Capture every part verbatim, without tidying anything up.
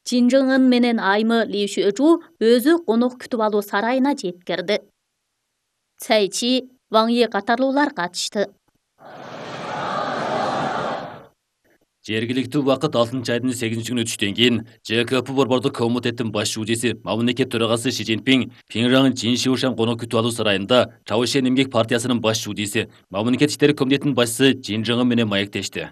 Чин Чжын Ын менен айымы Ли Шүэжу өзү конок күтүп алуу сарайына жеткирди. Цай Чи, Ваң Е катарлуулар катышты. Жергиликтүү убакыт алтынчы айдын сегизинчи күнү түштөн кийин ЖКП борбордук комитеттин баш жуудиси, мамлекет төрагасы Ши Цзиньпин Пхенчжан Чиншиушан конок күтүп алуу сарайында Чавушен эмгек партиясынын баш жуудиси, мамлекет иштери комитетинин башчысы Чин Чжын Ын менен маектешти.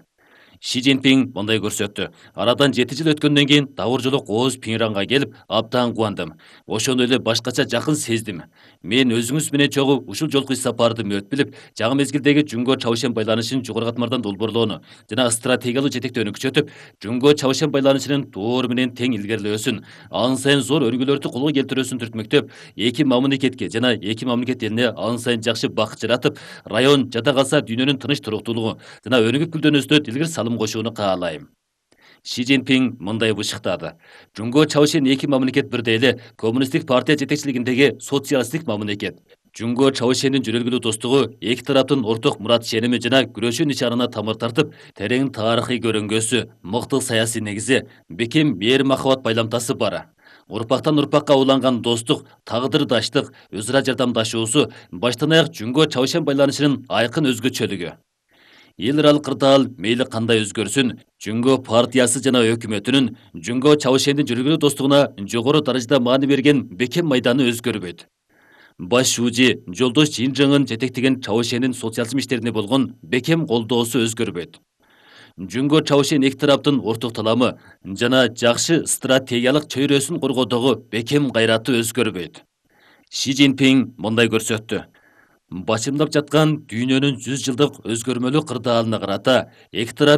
Ши Цзиньпин мындай көрсөттү. Арадан жети жыл өткөндөн кийин дагы бир жолу кооз Пхенчжанга келип, абдан кубандым. Ошондой эле башкача жакын сездим. Мен өзүңүз менен чогуу ушул жолку иш сапарды мөт билип, жаңы мезгилдеги Жунго Чавушен байланышын жогору катмардан долбоорлоону жана стратегиялык жетектөөнү күчөтүп, Жунго Чавушен байланышынын тоору менен тең илгерилөөсүн, ан сайын зор өргүлөрдү колго келтирүүсүн түртмөктөп, эки мамлекетке жана эки мамлекет элине ан сайын жакшы бакыт жаратып, район жада калса дүйнөнүн тынч туруктуулугу жана өнүгүп гүлдөнүүсүнө тилгир салым кошууну каалайм. Ши Цзиньпин мындай бышыктады. Жунго Чавушен эки мамлекет бирдей эле коммунисттик партия жетекчилигиндеги социалисттик мамлекет. Жунго Чавушендин жүрөлгүлүү достугу эки тараптын орток мурат ишеними жана күрөшүү нишанына тамыр тартып, терең тарыхый көрүнгөсү, мыкты саясий негизи, бекем мээр махабат байламтасы бар. Урпактан урпакка уланган достук, тагдырдаштык, өз ара жардамдашуусу баштан аяк Жунго Чавушен байланышынын айкын өзгөчөлүгү. Эл аралык кырдаал мейли кандай өзгөрсүн, Жунго партиясы жана өкмөтүнүн Жунго Чавушендин жүрөлгүлүү достугуна жогору даражада маани берген бекем майданы өзгөрбөйт. Баш жууди жолдош Чин Чжын Ын жетектеген Чавушендин социализм иштерине болгон бекем колдоосу өзгөрбөйт. Жунго Чавушен эки тараптын орток таламы жана жакшы стратегиялык чөйрөсүн коргоодогу бекем кайраты өзгөрбөйт. Ши Цзиньпин мындай көрсөттү. Башымдап жаткан дүйнөнүн жүз жылдык өзгөрмөлүү кырдаалына карата эки тарап